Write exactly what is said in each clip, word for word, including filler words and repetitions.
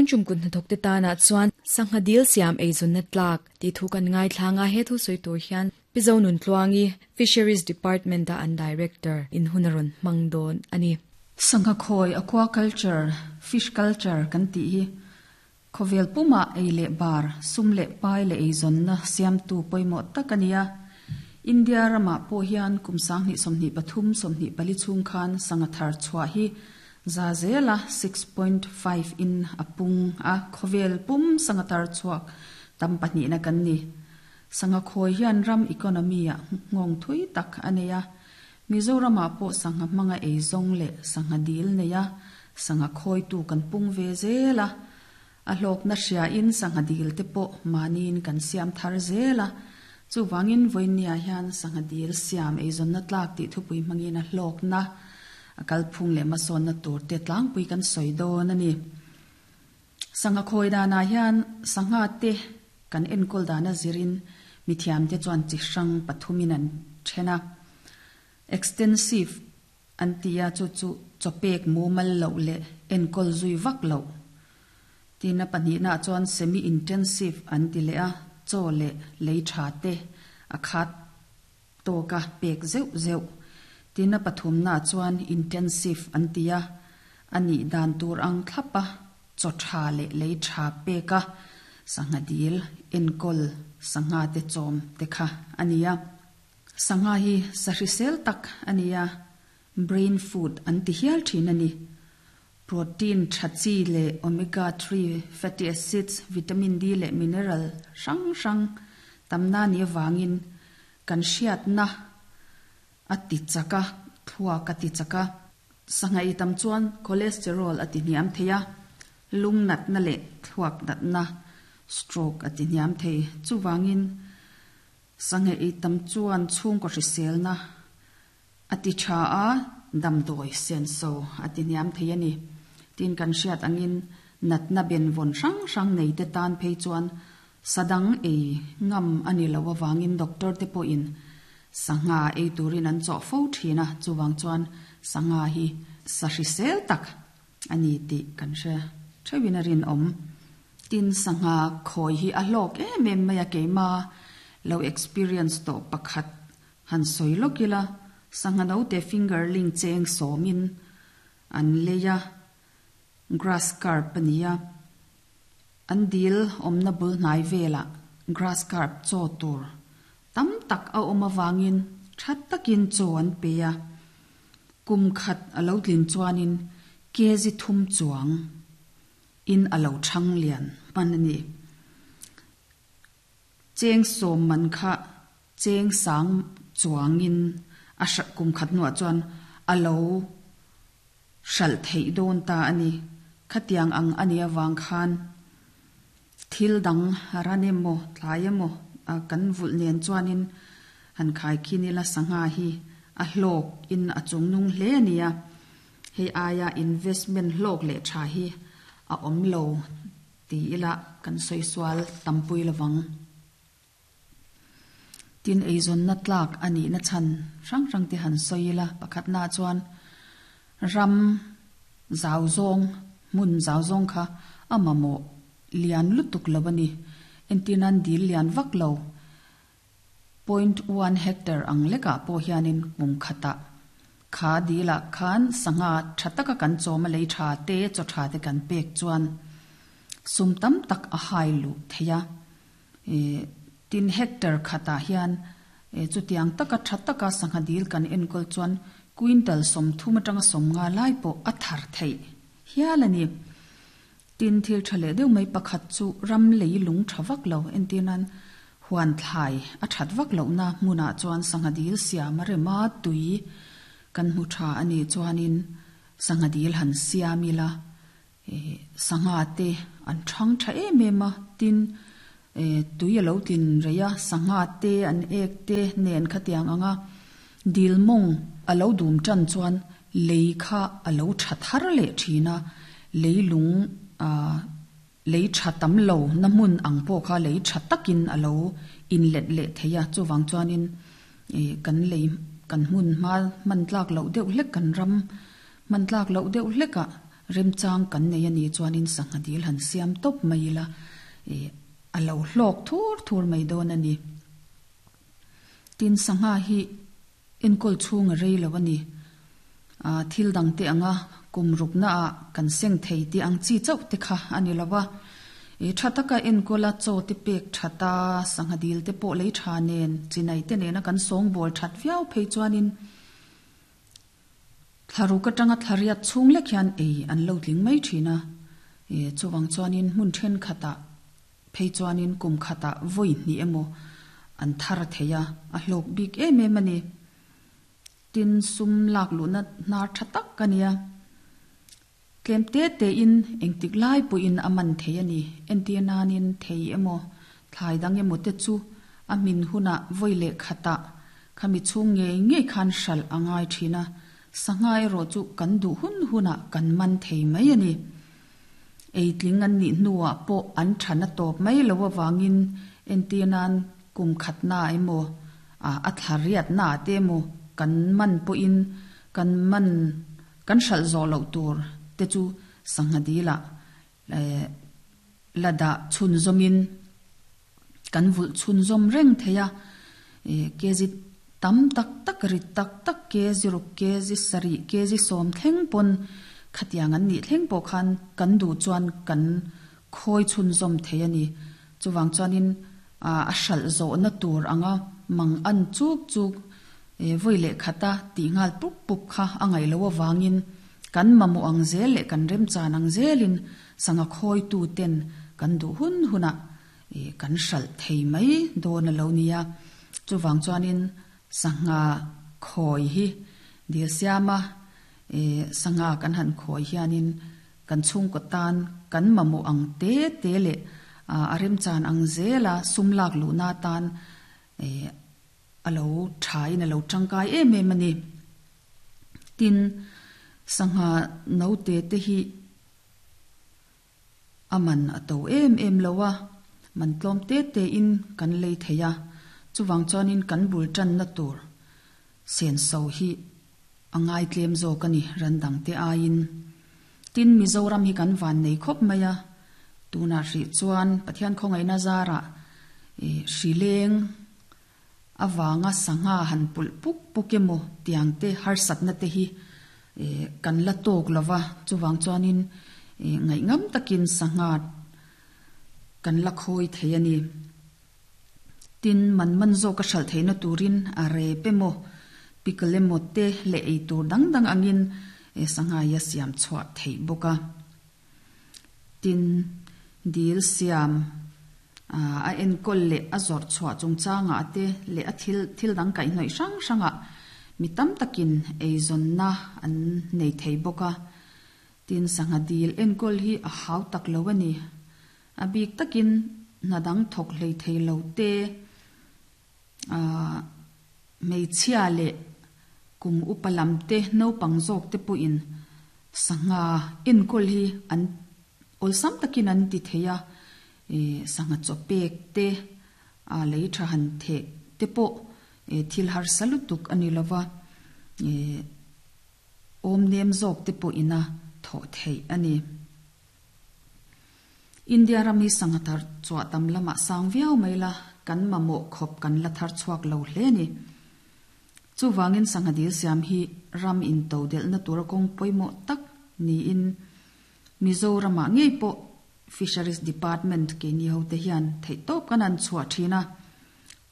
Tun tum kut hnathawk te tana chuan sangha dil siam eizawnna tlak tih thu kan ngai thlanga he thu sawi tur hian Pi Zonuntluangi Fisheries Department a an Director in hun a rawn hmang dawn a ni. Sangha khawi aquaculture, fish culture kan tih hi khawvel puma ei leh bar, sum leh pai leh eizawnna siamtu pawimawh tak a ni a. India ramah pawh hian kum sanghnih sawmhnih pathum sawmhnih pali chhung khan sangha thar chhuah hi za zela six point five in a pung a, khawvel pum sangha thar chhuak tam pahnihna kan ni. Sangha khawi hian ram economy ah nghawng thui tak a nei a. Mizoramah pawh sangha hmanga eizawng leh sangha dil nei a, sangha khawitu kan pung ve zel a. A hlawkna hriain sangha dil te pawh mahniin kan siam thar zel a. Chuvangin vawinia hian sangha dil siam eizawnna tlak tih thupui hmangin a hlawkna a kalphung leh hmasawnna tur te tlangpui kan sawi dawn a ni. Sangha khawi danah hian sangha te kan enkawl dana zirin mithiam te chuan chi hrang pathumin an then a. Extensive an ti a, chu chu chawpek mumal loh leh enkawl zui vak loh. Tina pahnihna chuan semi intensive an ti leh a, chaw leh lei tha te a khat tawka pek zeuh zeuh. Tina pathumna chuan intensive an ti a, ani dan tur ang thlapa chaw tha leh lei tha peka sangha dil enkawl sangha te chawm te kha ania. Sangha hi sahrisel tak ania, brain food an ti hial thin ani. Protein tha chi leh omega three fatty acids, vitamin D leh mineral hrang hrang tamna ni awangin kan hriatna a ti chaka, thluak a ti chaka. Sangha i tam chuan cholesterol a ti hniam thei a, lung natna leh thluak natna stroke a ti hniam thei. Chuwangin sangha i tam chuan chhungkaw hriselna a ti tha a, damdawi senso a ti hniam thei a ni. Tin kan hriat angin natna ben vawn hrang hrang nei te tan phei chuan sadang ei ngam ani lo awangin doctor te pawhin sangha ei turin an chaw fo thin a. Chuwang chuan sangha hi sahrisel tak ani tih kan hre theuhin a rin awm. Tin sangha khawi hi a hlawk em em mai a, keima lo experience to pakhat han sawi lawkila. Sangha no te fingerling cheng sawmin an leia, grass carp ania. An dil awmna bul hnai vela grass carp chaw tur tam tak a awm awangin that takin chaw an pe a. Kum khat a lo tlin chuanin kezi thum chuang in a lo thang lian hman ani. Cheng sawm man kha cheng sang chuangin a hra kum khat nuah chuan a lo hral thei dawn ta ani. Khatiang ang ani awang khan thil dang ran emaw thlai emaw kan vulh nen chuanin han khai khin ila sangha hi a hlawk in a chungnung hle ania. Hei aia investment hlawk leh tha hi a awm lo ti ila kan sawi sual tampui lovang. Tin eizawnna tlak ani na chan hrang hrang te han sawi ila. Pakhatna chuan ram zau zawng hmun zau zawng kha a mamawh lian lutuk lo ani. Entirnan dil lian vak lo point one hectare ang leka pawh hianin kum khata kha dila khan sangha tha taka kan chawm a lei tha te chaw tha te kan pek chuan sum tam tak a hai lu theia. E tin hectare khata hian e chutiang taka tha taka sangha dil kan enkawl chuan quintal som thum atanga som nga lai pawh a thar thei hial ani. Tin thil tha leh deuh mai pakhat chu ram lei lung tha vak lo, entirnan huan thlai a that vak lo na hmunah chuan sangha dil siam a rema tui kan hmu tha ani chuanin sangha dil han siam ila. E sangha te an thang tha em em a. Tin e tui a lo tin reia sangha te an ek te nen khatiang anga dil mawng a lo dum tan chuan lei kha a lo tha thar leh thina. Lei lung a lei tha tam lo na hmun ang pawh kha lei tha takin a lo in let leh theia. Chuwang chuanin e kan lei kan hmun hma man tlak lo deuh hlek kan ram man tlak lo deuh hleka Remchang kan nei ani chuanin sangha dil han siam top mai ila e alo hlawk thur thur mai dawn ani. Tin sangha hi enkol chhung rei lo ani. A thil dang te anga kum rukna a kan seng thei ti ang chi chauh te kha ani lova. E thataka enkola chaw te pek thata sangha dil te pawh lei tha nen chinai te nena kan sawng bawl that viau phei chuanin thlaru ka tanga thlariat chhung lek hian ei an lo tling mai thina. E chuwang chuanin hmun then khata phei chuanin kum khata voi ni emo an thar theia a hlawk bik em em ani. Tin sum lak lu na nar thatak kania tlem te te in engtik lai pu in aman thei ani. Entiananin thei emo thlai dang emo te chu a min huna voile khata khami chung nge nge khan hral angai thina. Sangai ro chu kan du hun huna kan man thei mai ani. Ei tling an ni nuwa po an thana top mai lo wangin entianan kum khatna emo a athariat na te mo kan man po in kan man kan hral zo lo tur te chu sangha dila e lada chun zomin kan vul chun zom reng theya. E kezi tam tak tak ri tak tak kezi ru kezi sari kezi som thleng pon khatiang an ni thleng po khan kan du chuan kan khoi chun zom theyani. Chuwang chuanin a a hral zo na tur anga mang an chuk chuk e voile khata ti ngal pup pup kha angai lo wangin kan mamu ang zel le kan rem chan ang zelin sanga khoi tu ten kan du hun huna e kan hral thei mai don lo nia. Chuwang chuanin sanga khoi hi dil siama e sanga kan han khoi hianin kan chung ko tan kan mamu ang te te le a rem chan ang zela sumlak lu na tan e alo thai na lo tangkai em em ani. Tin sangha no te te hi aman ato em em lowa man tlom te te in kan lei theya. Chuwang chuanin kan bul tan na tur sen so hi angai tlem zo kani randang te ain. Tin Mizoram hi kan van nei khop maya tuna ri chuan Pathian khongai na zara e hrileng awanga sangha han pul puk pukemo tiang te har satna te hi e kan la tok lova. Chuwang chuanin e ngai ngam takin sangha kan la khoi theiani. Tin man man zo ka hral theina turin a re pemo piklemo te le ei tur dang dang angin e sangha ya siam chhuwa thei boka. Tin dil siam a en kol le a zor chhuwa chungchanga ate le a thil thil dang kai hnoi sang sanga mi tam takin ei zon na an nei thei boka. Tin sangha dil en kol hi a hau tak lo ani. A bik takin nadang thok hlei thei lo te a mei chhia le kum upalam te no pangzok te pu in sangha en kol hi an olsam takin an ti theya. E sangha chopek te a lei tha han the te po e thil har salutuk ani lova e om nem zok te pu ina tho thei ani. India rami sangha thar chwa tam lama sang viau maila kan mamo khop kan la thar chuak lo hle ni. Chuwangin sangha dil siam hi ram in to del na tur kong poimo tak ni in Mizorama ngei po Fisheries Department ke ni ho te hian thei top kan an chhuwa thina.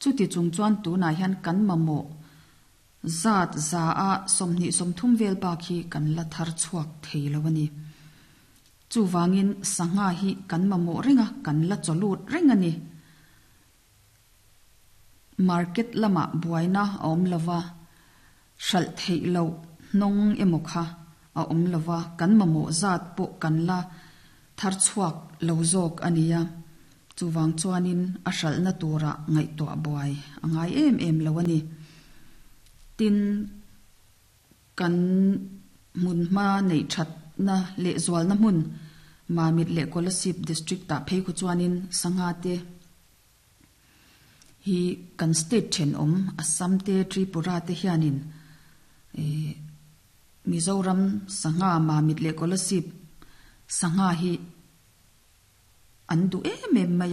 Chuti chung chuan tu na hian kan mamo zat za a somni somthum vel ba khi kan la thar chuak thei lo ani. Chuwangin sangha hi kan mamo ringa kan la cholut ringani. Market lama buaina awm lova hral thei lo nong emo kha a awm lova kan mamo zat po kan la thar chuak lo zawk ania. Chuwang chuanin a hral na tura ngai to buai angai em em lo ani. Tin kan mun ma nei that na le zwal na mun Mamit le Kolasib district ta phei khu chuanin sangha te hi kan state then om Assam te Tripura te hianin e Mizoram sangha Mamit le Kolasib Sangha hi an du em em mai a.